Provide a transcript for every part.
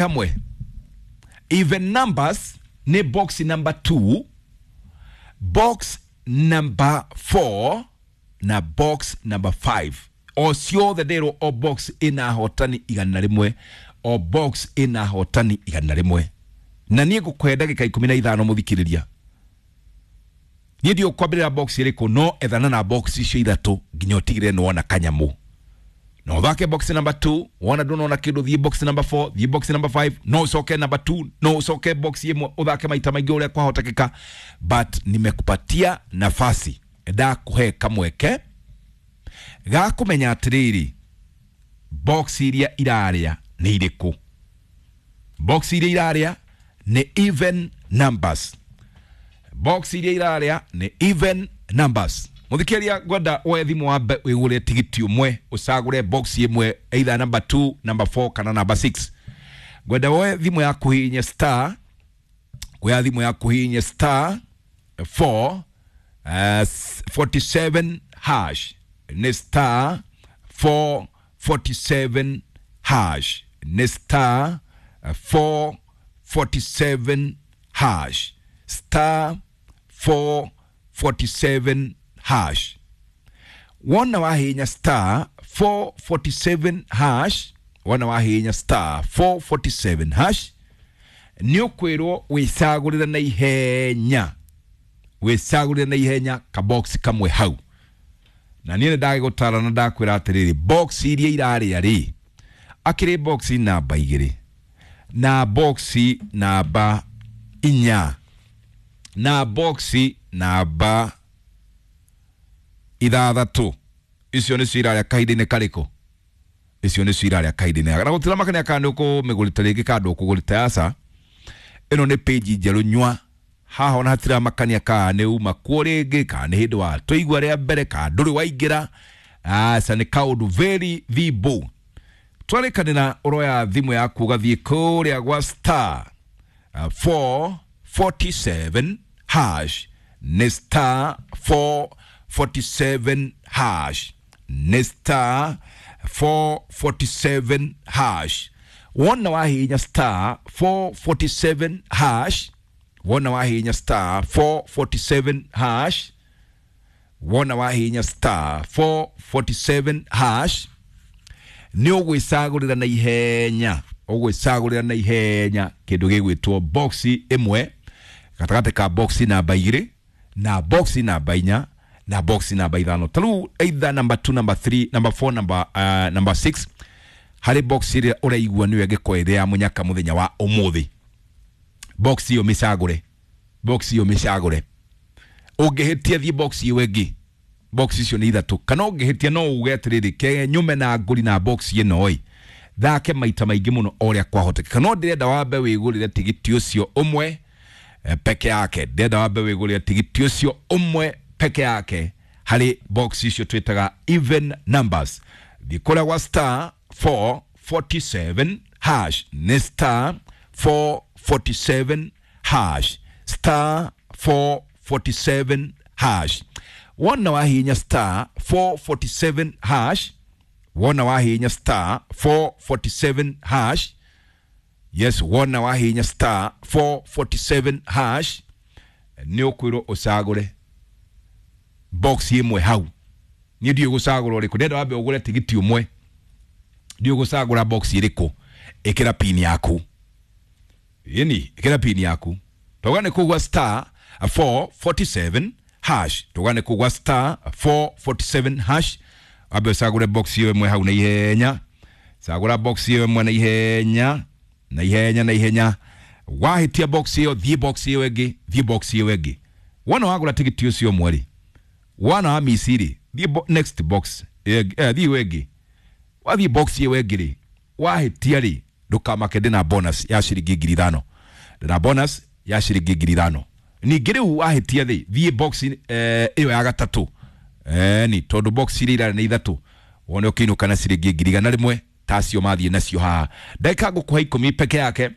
Hamwe even numbers nĩ box number 2, box number 4 na box number 5. O ciothe ndĩrwo o box ĩna hotani 100, o box ĩna hotani 100. Na niĩ ngũkũhe ndagĩka 15 mũthikĩrĩria. Niĩ ndiũ kwambĩrĩra box ĩrĩkũ, no ethana na box icio ithatũ nginya ũtigĩrĩre nĩ wona kanyamũ. No ũthake box number 2, wona ndũnona kĩndũ thiĩ box number 4, thiĩ box number 5, no ũcoke number 2, no ũcoke box ĩmwe ũthake maita maingĩ ũrĩa kwahotekeka, but nimekupatia nafasi, ndakũhe kamweke ga kũmenya atĩrĩrĩ, box iria irarĩa nĩ irĩkũ. Box iria irarĩa nĩ even numbers, box iria irarĩa nĩ even numbers. Mũthikĩrĩria, ngwenda woe thimũ wambe wĩgũre tigiti ũmwe, ũcagũre box ĩmwe, either number 2, number 4 kana number 6. Ngwenda woe thimũ yaku hihinye star, kuoya thimũ yaku hihinye star 4 47 hash, nĩ star 447 hash, nĩ star 447 hash, star 447 hash. Wona wahinya star 447 hash, wona wahinya star 447 hash, nĩ ũkwĩrwo wĩcagũrĩre na ihenya, wĩcagũrĩre na ihenya kabox kamwe hau. Na niĩ nĩ ndagĩgũtara na ndakwĩra atĩrĩrĩ, box iria irarĩa rĩ, akĩrĩ box namba 2 na box namba 4 na box namba 6. Icio nĩcio irarĩa kahinda-inĩ karĩkũ? Icio nĩcio irarĩa kahinda-inĩ. Na gũtiramakania kana nĩ ũkũmĩgũrĩte rĩngĩ kana ndũkũgũrĩte, aca. Ĩno nĩ page njerũ nyua haha, ona hatiramakania kana nĩ uma kuo rĩngĩ, kana nĩ hĩndĩ wa tũigua rĩa mbere, kana ndũrĩ waingĩra, aca. Nĩ kaũndũ very thimble. Twarĩkanĩra ũroya thimũ yaku ũgathiĩ kũrĩa gwa star 447 hash, nĩ star 447 hash, nĩ star 447 hash. Wona wahihinya star 447 hash, wona wahihinya star 447 hash, wona wahihinya star 447 hash, nĩ ũgwĩcagũrĩra na ihenya, ũgwĩcagũrĩra na ihenya kĩndũ gĩgwĩtwo box ĩmwe gatagatĩ ka box namba 2 na box namba 4 na box namba 5. Ta rĩu either number 2, number 3, number 4, number 6, harĩ box ĩrĩa ũraigua nĩyo ĩngĩkorwo ĩrĩ ya mũnyaka mũthenya wa ũmũthĩ, box ĩyo mĩcagũre, box ĩyo mĩcagũre. Ũngĩhĩtia thiĩ box ĩyo ĩngĩ, box icio nĩ ithatũ. Kana ũngĩhĩtia no uge atĩrĩrĩ, ke nyume na ngũri na box ĩno ĩ thake maita maingĩ mũno o ũrĩa kwahotekeka. No ndĩrenda wambe wĩgũrĩre tigiti ũcio ũmwe peke yake, ndĩrenda wambe wĩgũrĩre tigiti ũcio ũmwe peke yake harĩ box icio twĩtaga even numbers. Thiĩ kũrĩa gwa star 447 hash, nĩ star 447 hash, star 447 hash. Wona wahihinya star 447 hash, wona wahihinya star 447 hash, yes, wona wahihinya star 447 hash, nĩ ũkwĩrwo ũcagũre box ĩmwe hau. Niĩ ndiũĩ gũcagũra ũrĩkũ, ndĩrenda wambe ũgũre tigiti ũmwe, ndiũĩ gũcagũra box ĩrĩkũ. Ĩkĩra pin yaku, ĩni ĩkĩra pin yaku, tauga nĩ kũgwa star 447 hash, tauga nĩ kũgwa star 447 hash, wambe ũcagũre box ĩyo ĩmwe hau na ihenya. Cagũra box ĩyo ĩmwe na ihenya, na ihenya, na ihenya. Wahĩtia box ĩyo, thiĩ box ĩyo ĩngĩ, thiĩ box ĩyo ĩngĩ. Wona wagũra tigiti ũcio ũmwe rĩ, wona wa mici rĩ, thiĩ next box, thiĩ ĩyo ĩngĩ. Wathiĩ box ĩyo ĩngĩ rĩ, wahĩtia rĩ, ndũkamake, ndĩna bonus ya ciringi 5,000, ndĩna bonus ya ciringi 5,000. Ningĩ rĩu wahĩtia rĩ, thiĩ box ĩyo ya gatatũ, ni tondũ box iria irarĩ nĩ ithatũ, wone ũkĩinũka na ciringi 100,000 tacio mathiĩ nacio haha. Ndagĩka ngũkũhe 10 peke yake.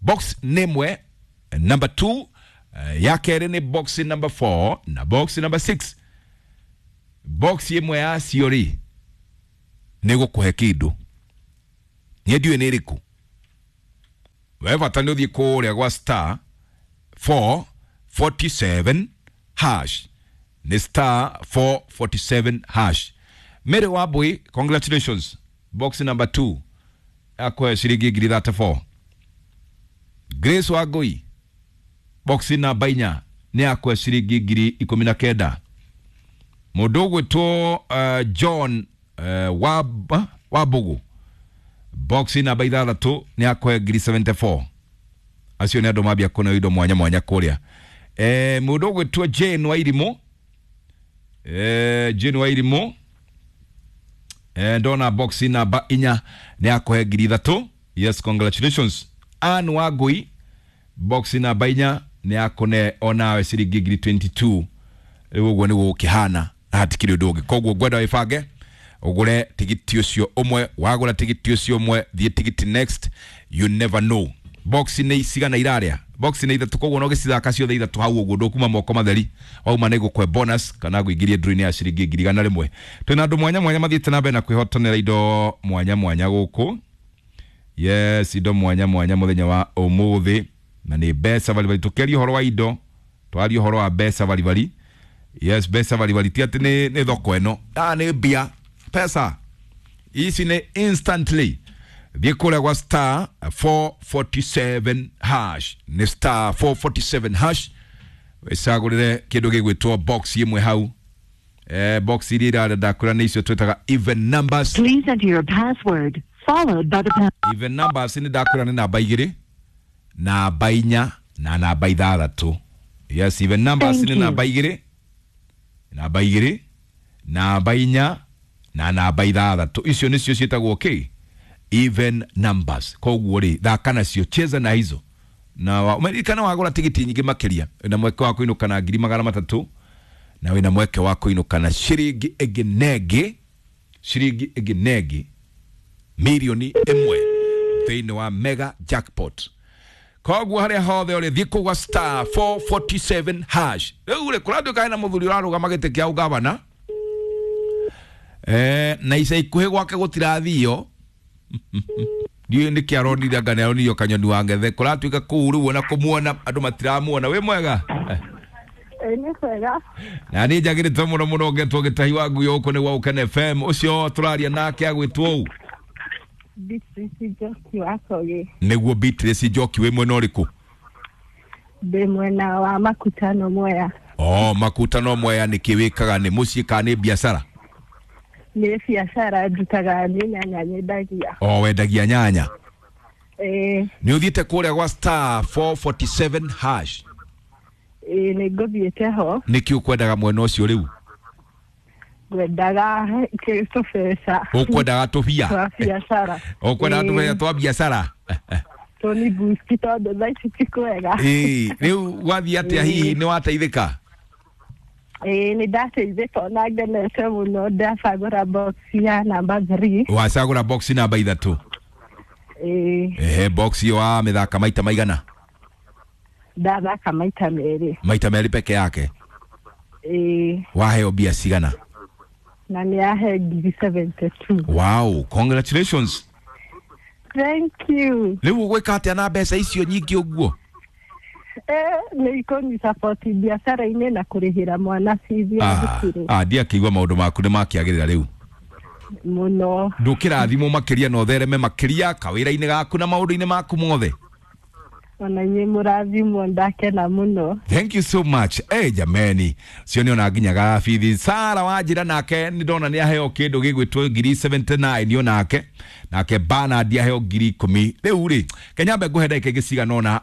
Box nĩ ĩmwe number 2, ya kerĩ nĩ box number 4 na box number 6. Box ĩmwe yacio rĩ, nĩ gũkũhe kĩndũ, niĩ ndiũĩ nĩ ĩrĩkũ. We bata nĩ ũthiĩ kũrĩa gwa star 447 hash, nĩ star 447 hash. Mary Wambui, congratulations, box number 2 akwe ciringi 34,000. Grace Wangui, box namba 4 nĩ akwe ciringi 19,000. Mũndũ ũgwĩtwo John Wambugu, box namba 6 nĩ akwe 74,000. Acio nĩ andũ mambia kũneo indo mwanya mwanya kũrĩa. Mũndũ ũgwĩtwo Jane Wairimũ, Jane Wairimũ, ndona box namba 4 nĩ akũhe 3,000. Yes, congratulations. Ann Wangui, box namba 4 nĩ akũne onawe ciringi 22,000. Rĩu ũguo nĩguo gũkĩhana na hatikĩrĩ ũndũ ũngĩ. Koguo ngwenda wĩbange ũgũre tigiti ũcio ũmwe. Wagũra tigiti ũcio ũmwe, thiĩ tigiti next, you never know. Box nĩ cigana irarĩa? Box nĩ ithatũ, koguo no gĩcithaka ciothe ithatũ hau ũguo, ndũkuma moko matheri. Wauma nĩ gũkwe bonus kana ngũingĩrie draw-inĩ ya ciringi 100,000. Twĩna andũ mwanya mwanya mathiĩte na mbere na kwĩhotanĩra indo mwanya mwanya gũkũ. Yes, indo mwanya mwanya mũthenya wa ũmũthĩ, na nĩ mbeca baribari. Tũkĩaria ũhoro wa indo, twaria ũhoro wa mbeca baribari. Yes, mbeca baribari ti atĩ nĩ thoko ĩno, nĩ mbia, pesa ici nĩ instantly. Thiĩ kũrĩa gwa star 447 hash, nĩ star 447 hash, wĩcagũrĩre kĩndũ gĩgwĩtwo box ĩmwe hau. Box iria irarĩa ndakwĩra nĩ icio twĩtaga even numbers. Please enter your password followed by the pound. Even numbers nĩ ndakwĩra nĩ namba 2, namba 4 na namba 6. Yes, even numbers Thank nĩ you. namba 2, namba 2, namba 4 na namba 6. Icio nĩcio ciĩtagwo kĩ? Even numbers. Koguo rĩ, thaka nacio, cheza na hizo. Na umeririkana wagũra tigiti nyingĩ makĩria, wĩna mweke wa kũinũka na 300,000, na wĩna mweke wa kũinũka na ciringi ĩngĩ nengĩ, ciringi ĩngĩ nengĩ 1,000,000 thĩinĩ wa mega jackpot. Koguo harĩa hothe ũrĩ, thiĩ kũgwa star 447 hash. Rĩu rĩ, kũratuĩka hena mũthuri ũrarũgama gĩtĩ kĩa ũgavana, na ica ikuhĩ gwake gũtirathio. Ndiũĩ nĩkĩ aronire, anga nĩaronirio kanyoni wa ngethe. Kũratuĩka kũu rĩu ona kũmuona andũ matiramuona. Wĩ mwega? Nĩ kwega. Na niĩ njagĩrĩte mũno mũno, ngetwo gĩtahi wa ngui gũkũ nĩ gwa Ũkene FM. Ũcio tũraria nake agwĩtwo ũũ? Beatrice Njoki wa Kogi. Nĩguo Beatrice Njoki, wĩ mwena ũrĩkũ? Ndĩ mwena wa Makutano Mwea. Oh, Makutano Mwea. Nĩkĩ wĩkaga? Nĩ mũciĩ kana nĩ biacara? Nĩ biacara ndutaga, nĩ nyanya nyendagia. O wendagia nyanya? Ĩĩ. Nĩ ũthiĩte kũrĩa gwa star 447 hash? Ĩĩ, nĩ ngũthiĩte ho. Nĩkĩ ũkwendaga mwena ũcio rĩu? Ngwendaga tũbeca. Ũkwendaga tũbia? Twa biacara. Ũkwendaga tũbeca twa biacara? Tũni boost tondũ thaa ici ti kwega. Ĩĩ, rĩu gwathiĩ atĩa? Hihi nĩ wateithĩka? Ĩĩ, nĩ ndateithĩka ona ngenete mũno, ndacagũra box ya namba 3. Wacagũra box namba 3? Ĩĩ. Ehe, box ĩyo wamĩthaka maita maigana? Ndathaka maita 2. Maita 2 peke yake? Ĩĩ. Waheo mbia cigana? Na nĩ yahe 72,000. Wow, congratulations. Thank you. Rĩu ũgwĩka atĩa na mbeca icio nyingĩ ũguo? Nĩ ikũni support biacara-inĩ na kũrĩhĩra mwana bithi ya thukuru. Ndiakĩigua maũndũ maku nĩ makĩagĩrĩra rĩu. Mũno. Ndũkĩrathimwo makĩria na ũthereme makĩria kawĩra-inĩ gaku na maũndũ-inĩ maku mothe. Ona inyuĩ mũrathimwo, ndakena mũno. Thank you so much. Jameni, cio nĩ ona nginyaga bithi. Sara Wanjira nake nĩ ndona nĩ aheo kĩndũ gĩgwĩtwo 79,000 onake. Nake Bernard aheo 10,000. Rĩu rĩ, kenyambe ngũhe ndagĩka ingĩ cigana ũna.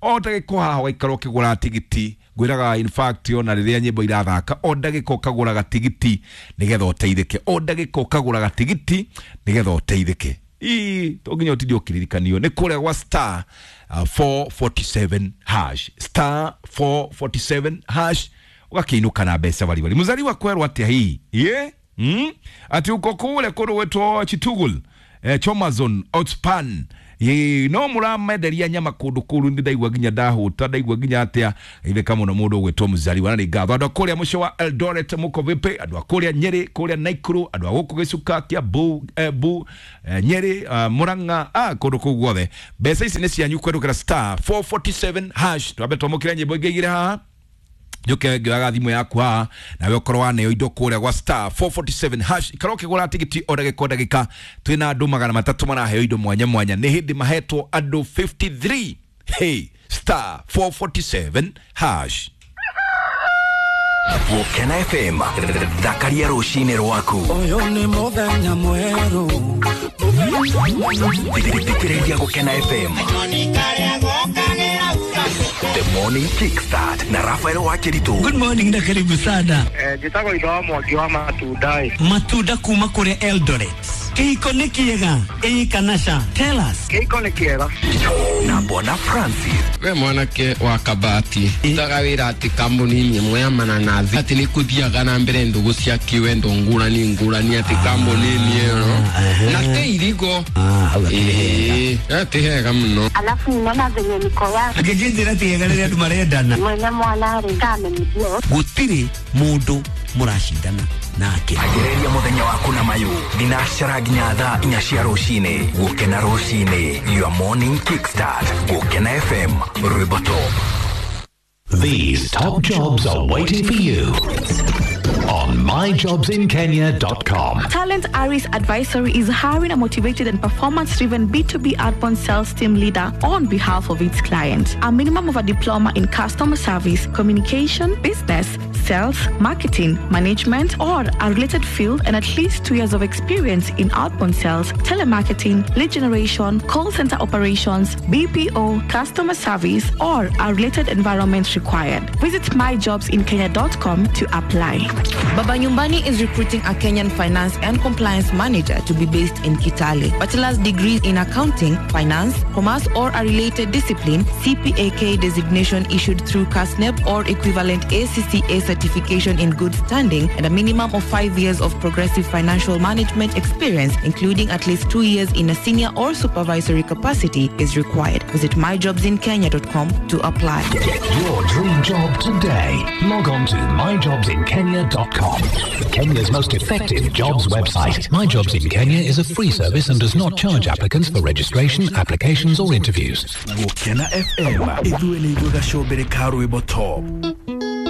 O ndagĩka haha ũgaikara ũkĩgũra tigiti. Ngwĩraga in fact ona rĩrĩa nyĩmbo irathaka, o ndagĩka ũkagũraga tigiti nĩgetha ũteithĩke. O ndagĩka ũkagũraga tigiti nĩgetha ũteithĩke. Ii, to nginya ũtinde ũkĩririkanio nĩ kũrĩa gwa star 447 hash, star 447 hash, ũgakĩinũka na mbeca baribari. Mũzaliwa kwerwo atĩa hihi? Ye? Ati uko kule kũndũ gwĩtwo Chitugul, Chomazon, Outspan. Ĩĩ, no mũramenderia nyama kũndũ kũu nĩ ndaigua nginya ndahũta, ndaigua nginya atĩa. Itheka mũno mũndũ ũgwĩtwo Mzaliwa, na nĩ ngatho andũ a kũrĩa mũciĩ wa Eldoret, mũko vipi? Andũ a kũrĩa Nyeri, kũrĩa Naikuru, andũ a gũkũ Gĩcuka, Kiambu, Embu, Nyeri, Murang'a, kũndũ kũu guothe. Mbeca ici nĩ cianyu kũhetũkĩra star 447 hash. Twambe twamũkĩre nyĩmbo ingĩ igĩrĩ haha, njuke ngĩoyaga thimũ yaku haha, nawe ũkorwo waneo indo kũrĩa gwa star 447 hash. Ikara ũkĩgũra tigiti o ndagĩka o ndagĩka. Twĩna andũ 300 maraheo indo mwanya mwanya, nĩ hĩndĩ mahetwo andũ 53. Hey, star 447 hash. Gũkena FM, thakaria rũcinĩ rwaku. Ũyũ nĩ mũthenya mwerũ. Thikĩrĩria Gũkena FM. The Morning Kickstart na Rafael Wakiritu. Good morning na karibu sana. Njĩtagwo itho wa Mwangi wa matunda ĩ. Matunda kuma kũrĩa Eldoret. Kĩhiko nĩ kĩega ĩĩ kana ca? Tell us. Kĩhiko nĩ kĩega. Na Bwana Francis. We mwanake wa kabati utaga wĩra atĩ kambuni-inĩ ĩmwe ya mananathi atĩ nĩ kũthiaga na mbere ndũgũ cia kĩwendo ngũrani ngũrani atĩ kambuni-inĩ ĩyo na te irigo. Ĩĩ, ti hega mũno. Alafu ninaona venye niko ya Angĩnjĩra ti hega rĩrĩa andũ marendana. Mwene mwana rĩ kamenithio. Gũtirĩ mũndũ mũracindana nake. Ambĩrĩria mũthenya waku na mayũ thinacara nginya thaa 4 cia rũcinĩ. Gũkena rũcinĩ, your morning kickstart. Gũkena FM, rwĩmbo top. These top jobs are waiting for you on myjobsinkenya.com. Talent Aris Advisory is hiring a motivated and performance driven B2B outbound sales team leader on behalf of its clients. A minimum of a diploma in customer service, communication, business, sales, marketing, management, or a related field, and at least 2 years of experience in outbound sales, telemarketing, lead generation, call center operations, BPO, customer service, or a related environment required. Visit myjobsinkenya.com to apply. Baba Nyumbani is recruiting a Kenyan finance and compliance manager to be based in Kitale. Bachelor's degrees in accounting, finance, commerce, or a related discipline, CPAK designation issued through KASNEB or equivalent ACCA certification in good standing, and a minimum of 5 years of progressive financial management experience, including at least 2 years in a senior or supervisory capacity, is required. Visit myjobsinkenya.com to apply. Get your dream job today. Log on to myjobsinkenya.com. Kenya's most effective jobs website. My Jobs in Kenya is a free service and does not charge applicants for registration, applications, or interviews. Gũkena FM, ithuĩ nĩ ithuĩ gacombere ka rwĩmbo top.